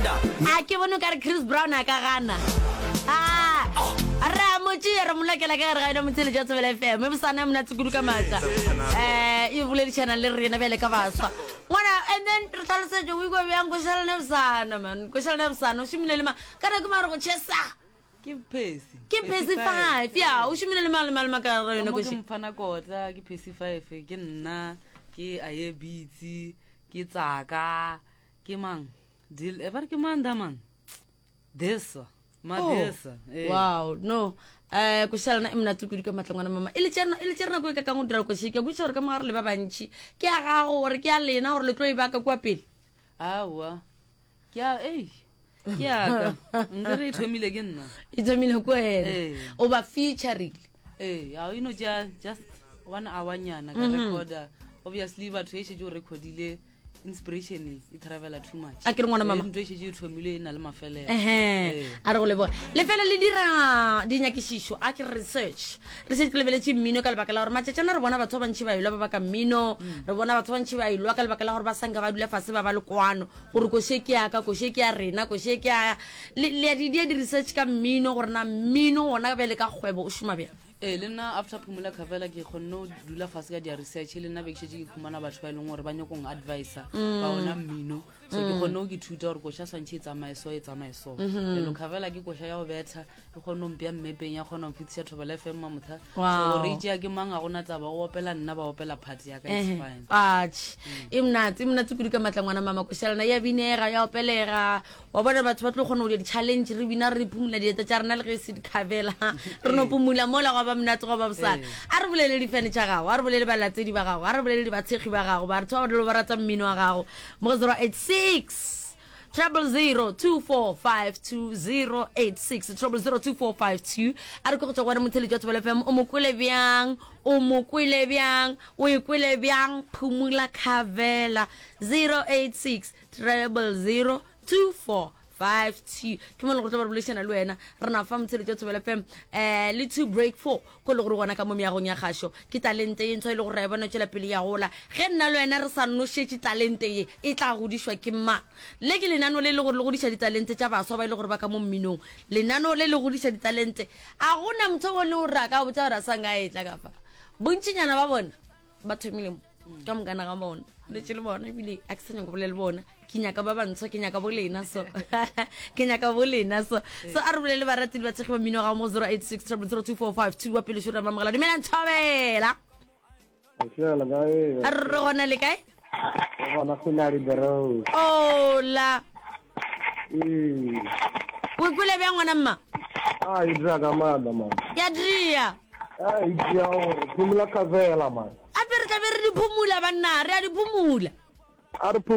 A ke bone o ka re Chris Brown a ka gana. Ah, re a mo tšea re mo lokela ka gare ga yona motheletši wa Thobela FM. E bosana monate kudu ka maatla. Eh, e boledišana le rena bjale ka baswa. Ngwana, and then re hlalosetše o ikwa bjang košalane bosana man. Košalane bosana o šomile le ma. Ka nako mare go chesa. Ke Percy. Ke Percy 5. Ya, o šomile le mang le mang le mang ka gare ga yona Ka mo ke koši. Mfana Kotla, ke Percy 5, ke nna, ke Aye Beats, ke Tsaka, ke mang? Dil, eh, ba re ke mang da man? Desa. Madesa. Oh, eh. Wow, no. Eh, koša lena e monate kudu ka matla ngwana mama. E le tšere e le tšere nako e ka kang go dira koši. Ke a kwešiša gore ka mogare le ba bantši. Ke ya gago gore ke ya lena gore le tlo e baka kua pele. Aowa. Ke a ei. Ke ya ka. Nkere e thomile ke nna. E thomile ko wena. Ee. O ba featurile. Ee, a e no tšea just one hour nyana ka recorder. Obviously batho e šetše o recordile inspiration e travela too much. A ke re ngwana mama. Ee, ntho e šetše e thomile e na le mafelelo. Ehe, Ee. a re go leboga lefela le dira dinyakišišo a ke re research re šetše ke lebeletše mmino ka lebaka la gore matšatšana re bona batho ba bantši ba elwa ba baka mmino re bona batho ba bantši ba elwa ka lebaka la gore ba sanka ba dula fase ba ba le kwano gore koše ke ya ka koše ke ya rena koše ke ya le le ya di dia di-research ka mmino gore na mmino gona bjale ka kgwebo o šoma bjang Ee, le nna after Phumula Khavela ke kgonne go dula fase ka dia research le nna be ke šetše ke khumana batho ba e leng gore ba nyakong advisa ka ona mmino so ke kgonne go ke thuta gore koša swantšhe e tsamaye so e tsamaye so elo Khavela ke koša ya go betha e kgonne go mpea mmepeng ya kgona go mfetiša Thobela FM mamotha so Wow. gore e tšea ke mang ga gona taba o opela nna ba opela part ya ka it's fine atšhe e monate e monate kudu ka matla ngwana mama koša lena ya binega ya opelega Wa bona batho ba tlo kgona go dira di-challenge re bina re phumula dieta tša rena le ge e se dikhabela re no pumula mola gwa ba monate gwa ba bosana. A re bolele difene tša gago, a re bolele balatedi ba gago, a re bolele batshekgi ba gago, batho ba ba ba rata mmino wa gago mo go 086 000 2452 086 000 2452 a re ke go tšwa go wena motheletši wa Thobela FM o mo kwele bjang o mo kwele bjang o e kwele bjang phumula khabela 086 000 2452 ke mo le gore tlo ba re boledišana le wena re na fa motsheletso thobela fm um eh, le two break four ko le gore gona ka mo meagong ya gašo ke talente ye ntshwa e le gore ra e bona tšwela pele ya gola ge nna le wena re sa nošetše talente ye e tla godišwa ke mang le ke lenano le le gore le godiša ditalente tša baswa ba e le gore ba ka mo mminong lenano le le godiša ditalente a gona motho o le gore a ka botsa gore a sa nka e tla ka fa bontšinyana ba bona ba thomile mo ka mokana ga bona letse le bona ebile a ke sa nyaka bolela le bona ke nyaka ba bantsho ke nyaka bolena so ke nyaka bolena so so a re bolele barati le batshegi ba mmino ga mo 086 00245 wa pele šora mamogela dumelang thobela a re gona le kae ola o ikwele bjang ngwana mma a e dira ka maatla man ya dria a e dira gore phumula kavela man ape re tlabe re di phumula banna re a di phumula a re phumula.